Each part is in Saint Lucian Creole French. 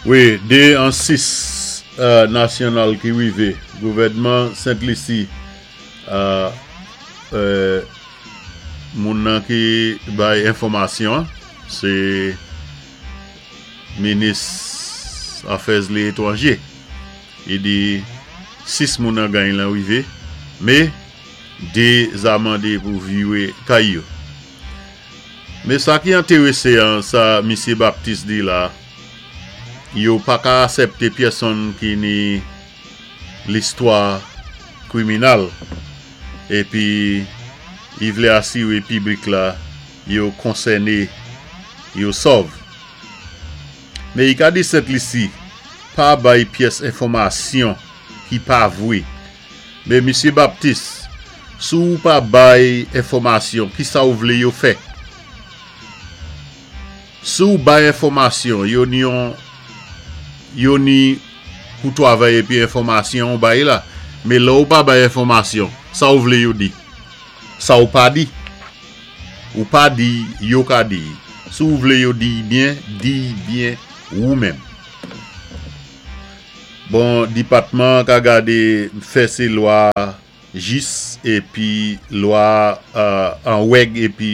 Wi, 2 an 6 nasyonal ki wivé, gouvèdman Sent Lisi, moun nan ki bay enfòmasyon an, sé minis afè étwanje. I di 6 moun an gany lan wivé, mé 2 za mandé pou viwé kay yo. Mé sa ki entéwésé an sa misyé Baptiste di la, yo pa ka asèpté pyèsonn ki ni listwa kwiminal épi i vlé asiwé piblik la yo konsèné yo sòv. Mé i ka di Sent Lisi pa bay pyès enfòmasyon ki pa vwé. Mé misye Baptiste, si ou pa bay enfòmasyon kisa ou vlé yo fè? Si ou bay enfòmasyon yo ni yon yo ni pou twavay épi enfòmasyon ou bay la, mé lè ou pa bay enfòmasyon sa ou vlé yo di? Sa ou pa di? Ou pa di, yo ka di. Si ou vlé yo di byen, di byen ou menm. Bon, dipatman ka gadé fè sé lwa jis épi lwa an wèg épi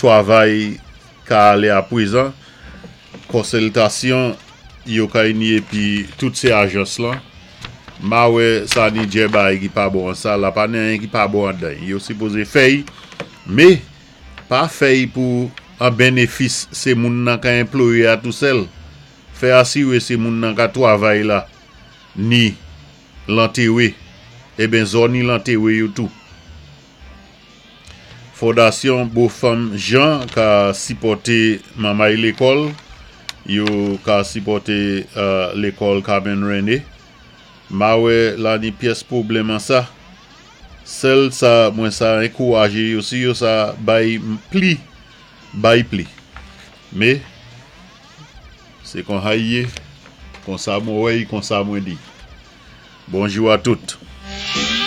twavay ka alé apwézan. Konsiltasyon yo ka ni épi tout sé ajans lan. Ma wè sa ni djè bay ki pa bon an sa la pa ni anyen ki pa bon andan. Yo sipozé fèy, mé pa fèy pou an bénéfis sé moun nan ka enployé a tou sèl. Fè asiwé sé moun nan ka twavay la ni lantéwé, eben zò ni lantéwé yo tou. Fondasyon Bo Fanm Jan ka sipòté manmay lékòl, yo ka sipòté lékòl Carmen René. Ma wè la ni pyès pwoblèm an sa. Sèl sa mwen sa enkouwajé yo si yo sa bay pli, bay pli. Mé sé kon hay yé, konsa mwen wè y, konsa mwen di. Bonjou a tout.